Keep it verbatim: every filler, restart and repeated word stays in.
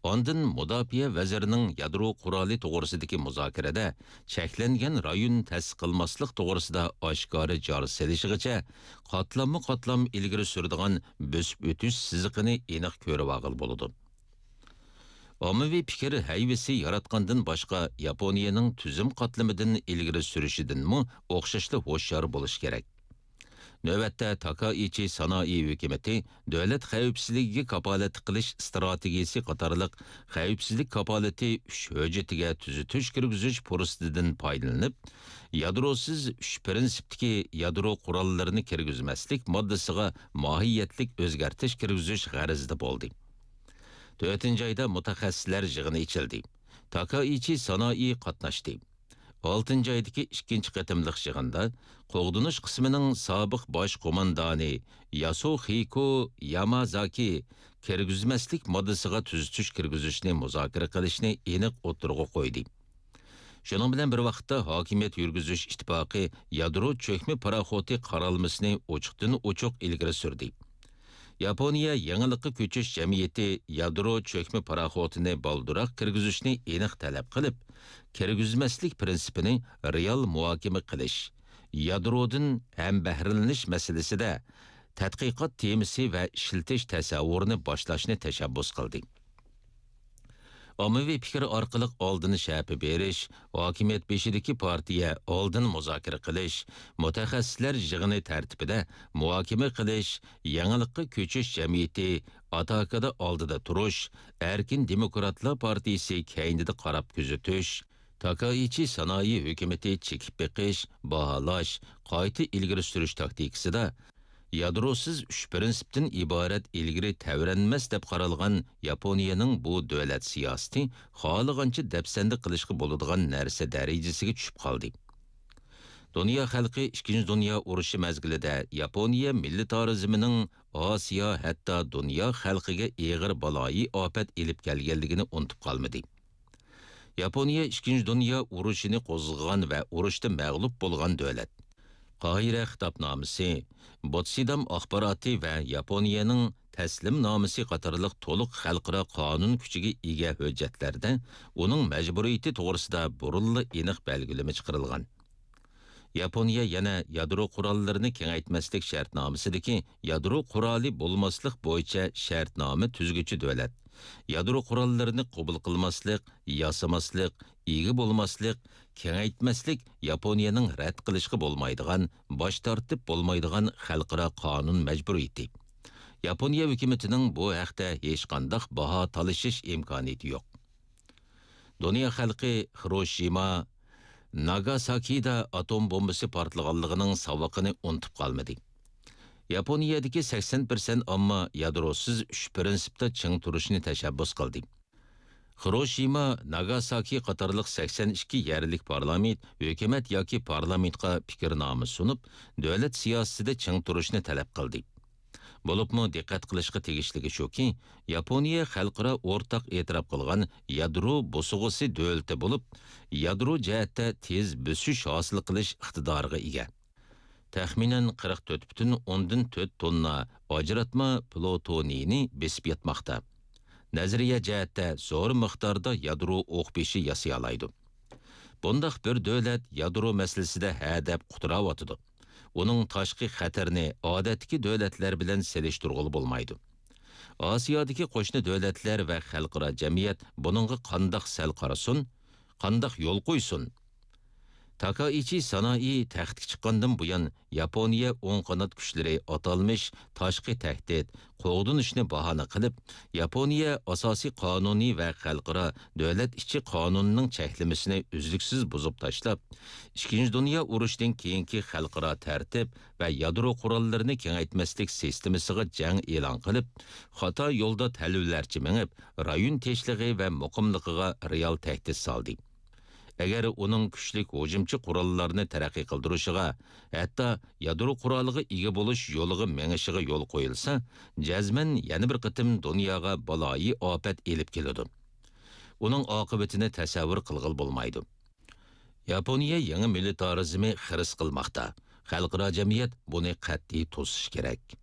ئاندىن مۇداپىئە ۋەزىرىنىڭ يادرو قورالى توغرىسىدىكى مۇزاكىرىدە چەكلەنگەن رايون تەسىس قىلماسلىق توغرىسىدا ئاشكارا جار سېلىشىغىچە قاتلاممۇ قاتلام ئىلگىرى سۈرىدىغان بۆسۈپ ئۆتۈش سىزىقىنى ئېنىق كۆرۈۋالغىلى بولىدۇ. ئاممىۋى پىكىر ھەيۋىسى ياراتقاندىن باشقا، ياپونىيەنىڭ تۈزۈم قاتلىمىدىن ئىلگىرى سۈرۈشىدىنمۇ ئوخشاشلا ھوشيار بولۇش كېرەك. نۆۋەتتە، تاكائىچى سانائى ھۆكۈمىتى دۆلەت خەۋپسىزلىكىگە كاپالەتلىك قىلىش ئىستراتېگىيىسى قاتارلىق خەۋپسىزلىك كاپالىتى ئۈچ ھۆججىتىگە تۈزىتىش كىرگۈزۈش پۇرسىتىدىن پايدىلىنىپ، يادروسىز ئۈچ پىرىنسىپتىكى يادرو قوراللىرىنى كىرگۈزمەسلىك ماددىسىغا ماھىيەتلىك ئۆزگەرتىش كىرگۈزۈش غەرىزىدە بولدى. تۆتىنچى ئايدا مۇتەخەسسىسلەر يىغىنى ئېچىلدى. تاكائىچى سانائى قاتناشتى. ئالتىنچى ئايدىكى ئىككىنچى قېتىملىق يىغىندا قوغدىنىش قىسمىنىڭ سابىق باش قوماندانى ياسۇخىكو يامازاكى كىرگۈزمەسلىك ماددىسىغا تۈزىتىش كىرگۈزۈشنى مۇزاكىرە قىلىشنى ئېنىق ئوتتۇرىغا قويدى. شۇنىڭ بىلەن بىر ۋاقىتتا، ھاكىمىيەت يۈرگۈزۈش ئىتتىپاقى يادرو چۆكمە پاراخوتى قارالمىسىنى ئوچۇقتىن-ئوچۇق ئىلگىرى سۈردى. ياپونىيە يېڭىلىققا كۆچۈش جەمئىيىتى يادرو چۆكمە پاراخوتىنى بالدۇرراق كىرگۈزۈشنى ئېنىق تەلەپ قىلىپ، كىرگۈزمەسلىك پىرىنسىپىنى رېئال مۇھاكىمە قىلىش، يادرودىن ھەمبەھرىلىنىش مەسىلىسىدە تەتقىقات تېمىسى ۋە ئىشلىتىش تەسەۋۋۇرىنى باشلاشنى تەشەببۇس قىلدى. ئاممىۋى پىكىر ئارقىلىق ئالدىن شەپە بېرىش، ھاكىمىيەت بېشىدىكى پارتىيە ئالدىن مۇزاكىرە قىلىش، مۇتەخەسسىسلەر يىغىنى تەرتىپىدە مۇھاكىمە قىلىش، يېڭىلىققا كۆچۈش جەمئىيىتى ئاتاكىدا ئالدىدا تۇرۇش، ئەركىن دېموكراتلار پارتىيىسى كەينىدە قاراپ كۆزىتىش، تاكائىچى سانائى ھۆكۈمىتى چېكىپ بېقىش، باھالاش، قايتا ئىلگىرى سۈرۈش تاكتىكىسىدا يادروسىز ئۈچ پىرىنسىپتىن ئىبارەت ئىلگىرى تەۋرەنمەس دەپ قارالغان ياپونىيەنىڭ بۇ دۆلەت سىياسىتى خالىغانچە دەپسەندە قىلىشقا بولىدىغان نەرسە دەرىجىسىگە چۈشۈپ قالدى. دۇنيا خەلقى ئىككىنچى دۇنيا ئۇرۇشى مەزگىلىدە ياپونىيە مىللىتارىزمىنىڭ ئاسىيا، ھەتتا دۇنيا خەلقىگە ئېغىر بالايىئاپەت ئېلىپ كەلگەنلىكىنى ئۇنتۇپ قالمىدى. ياپونىيە ئىككىنچى دۇنيا ئۇرۇشىنى قوزغىغان ۋە ئۇرۇشتا مەغلۇپ بولغان دۆلەت. قاھىرە خىتابنامىسى، بوتسىدام ئاخباراتى ۋە ياپونىيەنىڭ تەسلىمنامىسى قاتارلىق تولۇق خەلقئارا قانۇن كۈچىگە ئىگە ھۆججەتلەردە ئۇنىڭ مەجبۇرىيىتى توغرىسىدا بۇرۇنلا ئېنىق بەلگىلىمە چىقىرىلغان. ياپونىيە يەنە يادرو قوراللىرىنى كېڭەيتمەسلىك شەرتنامىسىدىكى يادرو قورالى بولماسلىق بويىچە شەرتنامە تۈزگۈچى دۆلەت، يادرو قوراللىرىنى قوبۇل قىلماسلىق، ياسىماسلىق، ئىگە بولماسلىق، كېڭەيتمەسلىك ياپونىيەنىڭ رەت قىلىشقا بولمايدىغان، باش تارتىپ بولمايدىغان خەلقئارا قانۇن مەجبۇرىيىتى. ياپونىيە ھۆكۈمىتىنىڭ بۇ ھەقتە ھېچقانداق باھا تالىشىش ئىمكانىيىتى يوق. دۇنيا خەلقى خىروشىما، ناگاساكىدا ئاتوم بومبىسى پارتلىغانلىقىنىڭ ساۋىقىنى ئۇنتۇپ قالمىدى. ياپونىيەدىكى سەكسەن پىرسەنت ئامما يادروسىز ئۈچ پىرىنسىپتا چىڭ تۇرۇشنى تەشەببۇس قىلدى. خىروشىما، ناگاساكى قاتارلىق سەكسەن ئىككى يەرلىك پارلامېنت، ھۆكۈمەت ياكى پارلامېنتقا پىكىرنامە سۇنۇپ، دۆلەت سىياسىتىدە چىڭ تۇرۇشنى تەلەپ قىلدى. بولۇپمۇ دىققەت قىلىشقا تېگىشلىكى شۇكى، ياپونىيە خەلقئارا ئورتاق ئېتىراپ قىلغان يادرو بوسۇغىسى دۆلىتى بولۇپ، يادرو جەھەتتە تېز بۆسۈش ھاسىل قىلىش ئىقتىدارىغا ئىگە. تەخمىنەن قىرىق تۆت پۈتۈن ئوندىن تۆت توننا ئاجراتما پلۇتونىينى بېسىپ ياتماقتا. نەزەرىيە جەھەتتە زور مىقداردا يادرو ئوق بېشى ياسىيالايدۇ. بۇنداق بىر دۆلەت يادرو مەسىلىسىدە ھە دەپ قۇتراۋاتىدۇ. ئۇنىڭ تاشقى خەتىرىنى ئادەتتىكى دۆلەتلەر بىلەن سېلىشتۇرغىلى بولمايدۇ. ئاسىيادىكى قوشنا دۆلەتلەر ۋە خەلقئارا جەمئىيەت بۇنىڭغا قانداق سەل قارىسۇن، قانداق يول قويسۇن؟ تاكائىچى سانائى تەختكە چىققاندىن بۇيان، ياپونىيە ئوڭ قانات كۈچلىرى ئاتالمىش تاشقى تەھدىت، قوغدىنىشنى باھانە قىلىپ، ياپونىيە ئاساسىي قانۇنى ۋە خەلقئارا دۆلەت ئىچى قانۇنىنىڭ چەكلىمىسىنى ئۈزلۈكسىز بۇزۇپ تاشلاپ، ئىككىنچى دۇنيا ئۇرۇشىدىن كېيىنكى خەلقئارا تەرتىپ ۋە يادرو قوراللىرىنى كېڭەيتمەسلىك سىستېمىسىغا جەڭ ئېلان قىلىپ، خاتا يولدا تەلۋىلەرچە مېڭىپ، رايون تىنچلىقى ۋە مۇقىملىقىغا رېئال تەھدىت سالدى. ئەگەر ئۇنىڭ كۈچلۈك ھۇجۇمچى قوراللارنى تەرەققىي قىلدۇرۇشىغا، ھەتتا يادرو قورالىغا ئىگە بولۇش يولىغا مېڭىشىغا يول قويۇلسا، جەزمەن يەنە بىر قېتىم دۇنياغا بالايىئاپەت ئېلىپ كېلىدۇ. ئۇنىڭ ئاقىۋىتىنى تەسەۋۋۇر قىلغىلى بولمايدۇ. ياپونىيە يېڭى مىلىتارىزمى خىرىس قىلماقتا. خەلقئارا جەمئىيەت بۇنى قەتئىي توسۇشى كېرەك.